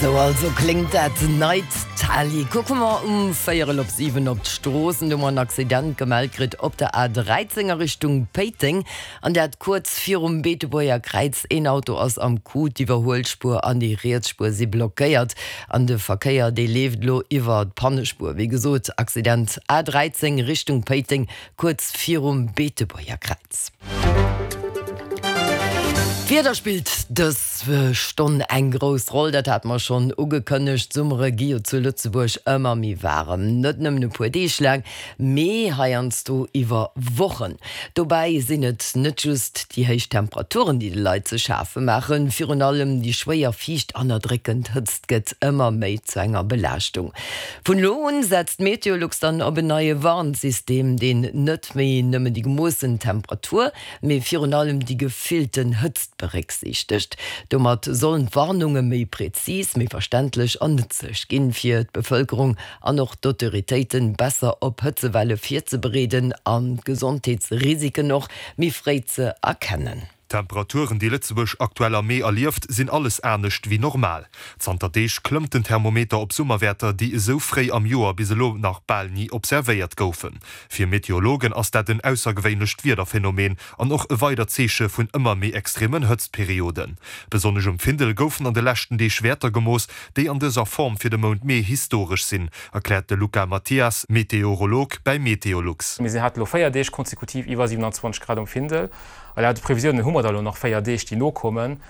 Sou also kléngt dat neit Tali. Kucke mer um véierel op 7 op d'Stroossen. Do hu mer en Accident gemellt kritt op der A13 a Richtung Péiteng, an dat kuerz virum Beetebuerger Kräiz. Een Auto ass am Coup, d'Iwwerhuelspuer an déi riets Spuer si blockéiert an de Verkéier dee leeft elo iwwer d'Pannespuer. Wéi gesot, Accident A13 Richtung Péiteng, kuerz virum Beetebuerger Kräiz. D'Wieder spillt dës Stonn eng grouss Roll, dat hate mer schonn ugekënnegt. D'Summere gi jo zu Lëtzebuerg ëmmer méi waarem, net nëmmen e puer Deeg laang, mee heiansdo iwwer Wochen. Dobäi sinn et net just déi héich Temperaturen, déi de Leit ze schafe maachen, virun allem déi schwéier, fiicht an erdréckend Hëtzt gëtt ëmmer méi zu enger Belaaschtung. Vun elo un setzt Meteolux dann op en neie Warnsystem, deen net méi nëmmen déi gemoossen Temperatur, mee virun allem déi gefillten Hëtzt berécksiichtegt. Domat sollen d'Warnunge méi prezis, méi verständlech an nëtzlech ginn, fir d'Bevëlkerung an och d'Autoritéiten besser op Hëtzewelle virzebereeden an d'Gesondheetsrisiken och méi fréi ze erkennen. D'Temperaturen, déi Lëtzebuerg aktuell am Mee erlieft, sinn alles anescht wéi normal. Zanter Deeg klëmmt den Thermometer op Summerwäerter, déi esou fréi am Joer bis elo nach bal ni observéiert goufen. Fir Meteorologen ass dat en aussergewéinlecht Wiederphenomen an och e weidert Zeeche vun ëmmer méi extremen Hëtztperioden. Besonnesch um Findel goufen an de leschten Deeg Wäerter gemooss, déi an dëser Form fir de Mount Mee historesch sinn, erkläert de Luca Mathias, Meteorolog bäi Meteolux. Mir hate lo 4 Deeg konsekutiv iwwer 27 Grad um Findel. A laut de Previsiounen hu mer da elo nach 4 Deeg, déi nokommen.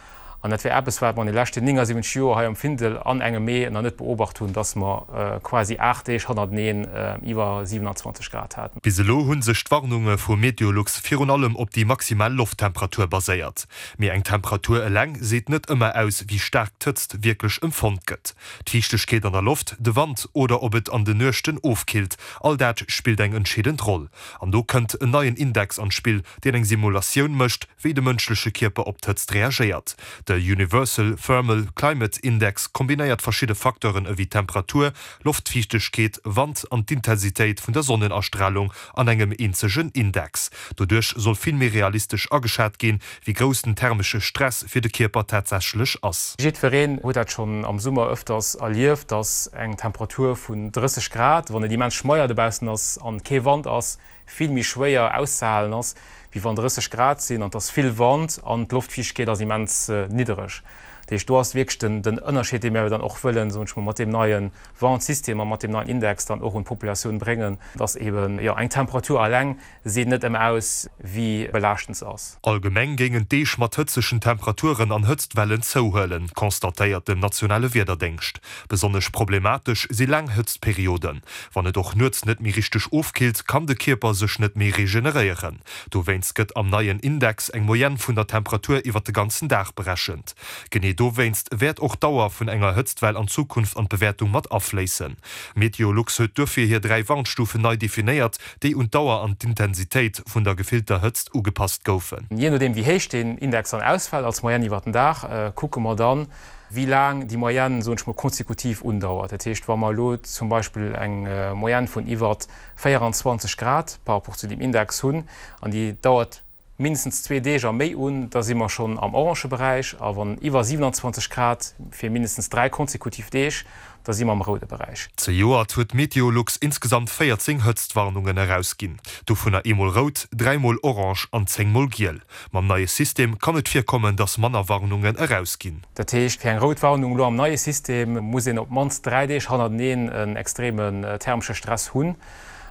An dat wär eppes, wat mer an de leschten 79 Joer hei am Findel an engem Mee nach net beobacht hunn, dass mer quasi 8 Deeg hannerteneen iwwer 27 Grad haten. Bis elo hu sech d'Warnunge vu Meteolux virun allem op déi maximal Lofttemperatur baséiert. Mee eng Temperatur eleng seet net ëmmer aus, wéi staark d'Hëtzt wierklech empfonnt gëtt. D'Fiichtegkeet an der Loft, de Wand oder ob et an den Nuechten ofkillt, all dat spillt eng entscheedend Roll. An do kënnt en neien Index an d'Spill, deen eng Simulatioun mécht, wéi de mënschleche Kierper op d'Hëtzt reagéiert. De Universal Thermal Climate Index kombinéiert verschidde Facteuren ewéi Temperatur, Loftfiichtegkeet, Wand an d'Intensitéit vun der Sonnenastralung an engem eenzegen Index. Doduerch soll vill méi realistesch ageschat ginn, wéi grouss den thermesche Stress fir de Kierper tatsächlech ass. Jiddwereen huet dat schonn am Summer ëfters erlieft, dass eng Temperatur vun 30 Grad, wann et immens schmeier dobaussen ass an kee Wand ass, vill méi schwéier auszehalen ass, wéi wann 30 Grad sinn an et ass vill Wand an d'Loftfiichtegkeet ass immens niddereg. Dat heescht, do ass wierklech den den Ënnerscheed, dee mir dann och wëllen, soen ech mol, mat deem neie Warnsystem a mat deem neien Index dann och un d'Populatioun bréngen, dass eeben, jo, eng Temperatur alleng seet net ëmmer aus, wéi belaaschtend se ass. Allgemeng géingen d'Deeg mat hëtzegen Temperaturen an Hëtztwellen zouhuelen, constatéiert den nationale Wiederdéngscht. Besonnesch problematesch si laang Hëtztperioden. Wann et och nuets net méi richteg ofkillt, kann de Kierper sech net méi regeneréieren. Dowéinst gëtt am neien Index eng Moyenne vun der Temperatur iwwer de ganzen Dag berechent. Genee dowéinst wäert och d'Dauer vun enger Hëtztwell an Zukunft an d'Bewäertung mat afléissen. Meteolux huet duerfir hir 3 Warnstufen nei definéiert, déi un d'Dauer an d'Intensitéit vun der gefillter Hëtzt ugepasst goufen. Jee nodeem wéi héich deen Index dann ausfält als Moyenne iwwer den Dag, kucke mer dann, wéi laang déi Moyenne, soen ech mol, konsekutiv undauert. Dat heescht, wa mer elo zum Beispill eng Moyenne vun iwwer 24 Grad par rapport zu deem Index hunn an déi dauert mindestens zwee Deeg a méi un, da si mer schonn am orange Beräich, a wann iwwer 27 Grad fir mindestens dräi konsekutiv Deeg, da si mer am roude Beräich. Zejoert huet Meteolux insgesamt 14 Hëtztwarnungen erausginn, dovunner eemol rout, dräimol orange an zéngmol giel. Mam neie System kann et virkommen, dass manner Warnungen erausginn. Dat heescht, fir eng rout Warnung elo am neie System muss een op d'mannst 3 Deeg hannerteneen en extremen thermesche Stress hunn.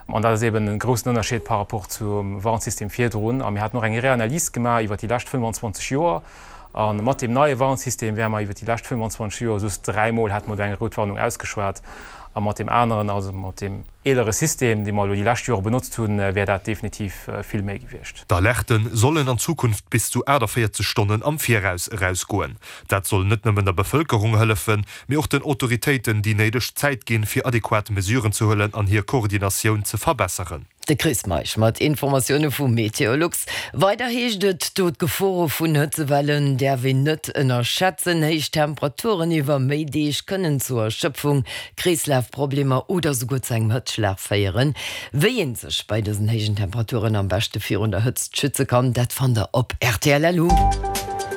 An dat ass eeben e groussen Ënnerscheed par rapport zum Warnsystem virdrun. A mir haten och eng Reanalys gemaach iwwer déi lescht 25 Joer. A mat deem neie Warnsystem wäre mer iwwer déi lescht 25 Joer just dräimol hätte mer do eng rout Warnung ausgeschwat. A mat deem aneren, also mat deem eelere System, dee mer elo déi lescht Jore benotzt hunn, wär dat definitiv vill méi gewiescht. D'Alerte sollen an Zukunft bis zu 48 Stonnen am Viraus erausgoen. Dat soll net nëmmen der Bevëlkerung hëllefen, mee och den Autoritéiten déi néideg Zäit ginn, fir adequat Mesuren ze huelen an hir Koordinatioun ze verbesseren. De Chris Meisch mat Informatioune vu Meteolux. Weider heescht et do, d'Gefore vun Hëtzewellen däerf een net ënnerschätzen. Héich Temperaturen iwwer méi Deeg kënnen zu Erschëpfung, Kreeslafproblemer oder souguer zu engem Hëtzschlag féieren. Wéi ee sech bei dësen héijen Temperaturen am beschte virun der Hëtzt schütze kann, dat fannt der op rtl.lu.